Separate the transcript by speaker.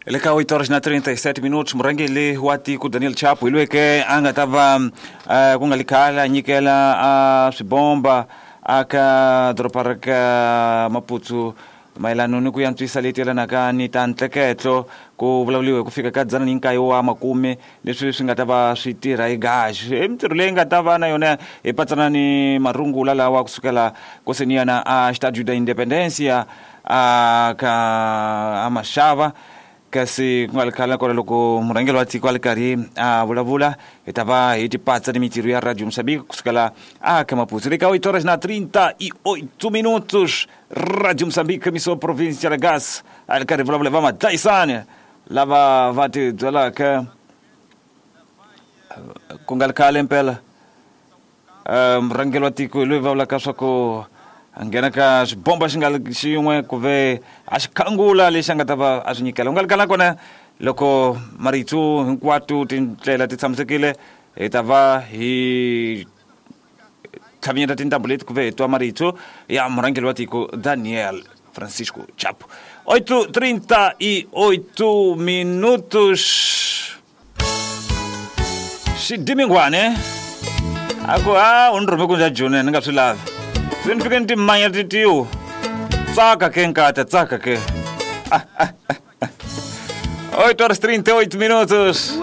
Speaker 1: Le ka 8 horas na 37 minutos, murhangeri wa tiko Daniel Chapo hi loyi a nga ta va ku nga li khale a nyikela a swibomba aka doroba ra ka Maputo mayelano ni ku yantswisa leti yelanaka ni ta ntleketlo. Ku vulavuriwe hi ku fika ka 109 wa makume leswi swi nga ta va swi tirha hi gaxi. I mintirho leyi nga ta va na yona hi patsana ni marungula lawa kusukela koseniyana a Estádio da Independência a ka a Mashava. Kasi ku nga ri khale kona loko murhangeri wa tiko a ri karhi a vulavula, hi ta va hi tipatsa ni mintirho ya Radio Moçambique kusukela a ka Maputo. Le ka 8 horas na 38 minutos, Radio Moçambique, emissora província de Gas, a ri karhi vulavula va madlayisani lava va ti byelaka ku nga ri khale mpela. Murhangeri wa tiko hi loyi va vulaka swa ku a nghena ka xibomba xi nga xin'we ku ve a xi khangula lexi a nga ta va a swi nyikela. U nga ri kala kona loko marito hinkwato tindlela ti tshamisekile, hi ta va hi tlhavinyeta tintambu leti ku ve hi twa marito ya murhangeri wa tiko Daniel Francisco Chapo. 8:38 minutos. Xidimingwane a ku a u ni rhume ku ndza joni ni nga swi lavi, se ni fike ni timanya titiwo. Tsaka ke nkata, tsaka ke. 8 horas 38 minutos.